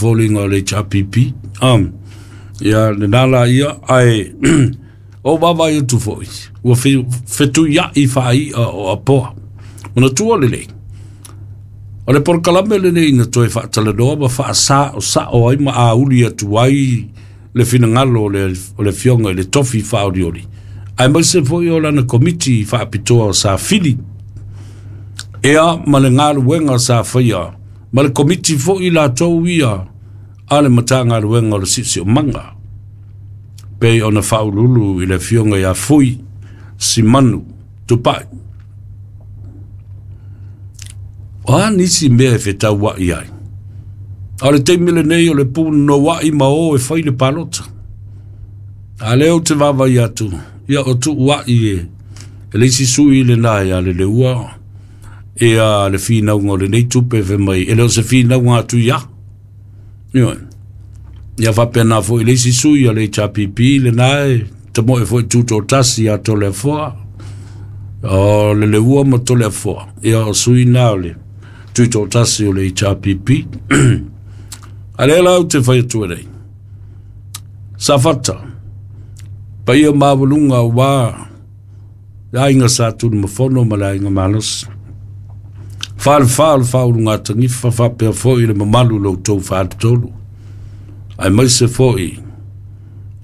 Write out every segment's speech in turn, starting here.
foliga o le HRPP. Ia lena la ia, ae o vaavaai atu foi ua fetuiai faai'a o apoa. Manatua lelei, o le polokalame lenei na toe faatalanoa ma faasa'osa'o ai ma auli atu ai le finagalo o le afioga i le tofi faaolioli, aemaise foi o lana komiti faapitoa sa fili ea ma le galuega sa faia ma le komiti foi latou ia a le Matagaluega o le Siosiomaga, pei ona faaululu i le afioga ia Fui Simanu Tupai. O a nisi mea e fetaua'i ai? A o le taimi lenei o le punoua'i ma o e fai le palota. A lea ou te vaavaai atu, ia o tuua'i e le isi sui lena ia Leleua ia le finauga o lenei tupe fai mai, e le o se finauga atu ia. Ioe. Ia faapena foi le isi sui a le HRPP lena e tamoe foi tutoatasi ia Toleafoa, o Leleua ma Toleafoa, ia o sui na o le tutoatasi o le HRPP. A lea la ou te fai atu ai nei, Safata, paia maualuga aua le aiga Sa Tunumafono ma le aiga Malosi, falefa o le faaulugatanifa faapea foi le mamalu o lo outou faletolu, aemaise foi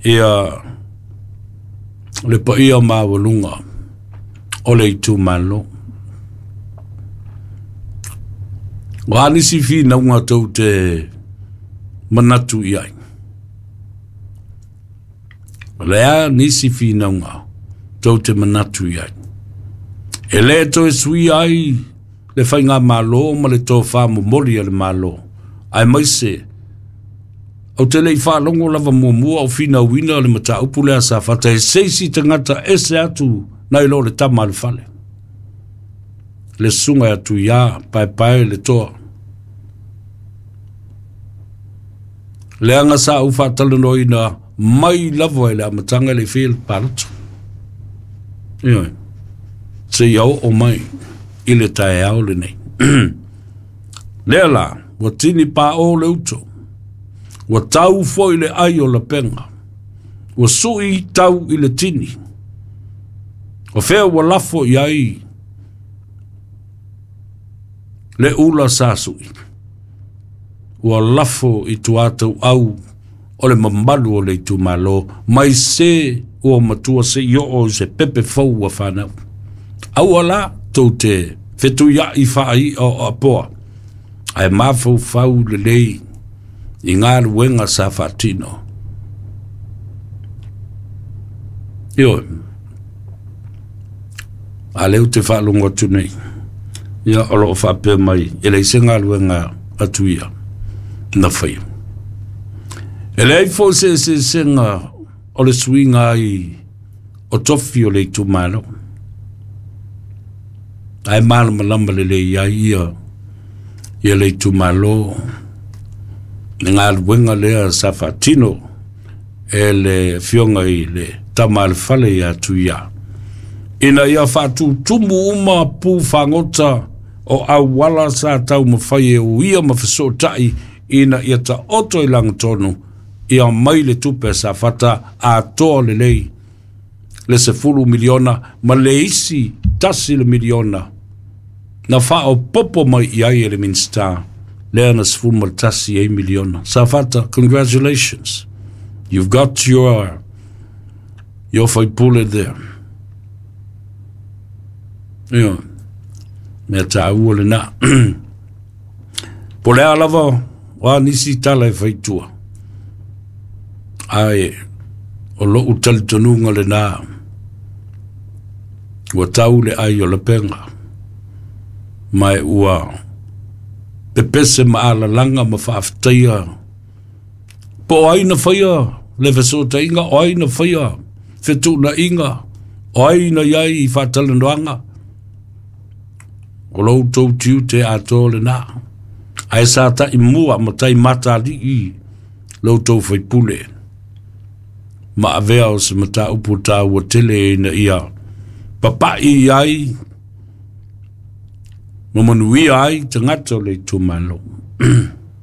ia le paia maualuga o le itumalo. O a nisi finauga tou te manatu i ai? O le a nisi finauga tou te manatu i ai? E le toe suia ai le faigamalo ma le tofa momoli a le Malo, aemaise ou te le i faalogo lava muamua o finauina le mataupu lea Safata e seisi tagata ese atu nai lo le tama a le fale, le susuga atu ia Paepae le Toa. Leaga sa ou faatalanoaina mai lava i le amataga e le i faia le palota. Ioe, seia oo mai i le taeao lenei. Lea la, ua tini pāo le uto, ua tau foi le ai o lapega, ua sui tau i le tini, o fea ua lafo i ai le ula sa sui, ua lafo i tuatau au o le mamalu o le itumalo, mai se ua matua se i oo i se pepe fou ua fanau. Aua la tou te fetuiai faai'a o apoa, ae mafaufau lelei i galuega sa faatino. Ioe, a lea ou te faalogo atu nei, ia o lo o faapea mai e leai se galuega atu ia na faia. E leai foi se eseesega o le suiga ai o tofi o le itumalo, ae malamalama lelei ai ia le itumalo le galuega lea sa faatino e le afioga i le tama a le fale ia Tuia, ina ia faatutumu uma pu fagota o auala sa taumafai e uia ma fesootai ina ia taoto i lagatonu ia mai le tupe Safata atoa lelei le 10 miliona ma le isi 1 miliona na faaopopo mai i ai e le Minista lea na 11 ai miliona. Safata, congratulations. You've got your faipule there. Ia, mea tāua lena. Po le a lava o a nisi tala e faitua, ae o lou talitonuga lena, ua tau le ai o lapega, ma e ua pepese ma alalaga ma faafetaia po o ai na faia le fesootaiga, o ai na faia fetuunaiga, o ai na iai i faatalanoaga. O lou tou tiute atoa lena, ae sa taimua ma taimatali'i lou tou faipule ma avea o se mataupu tāua tele ina ia papa'i ai ma manuia ai tagata o le itumalo.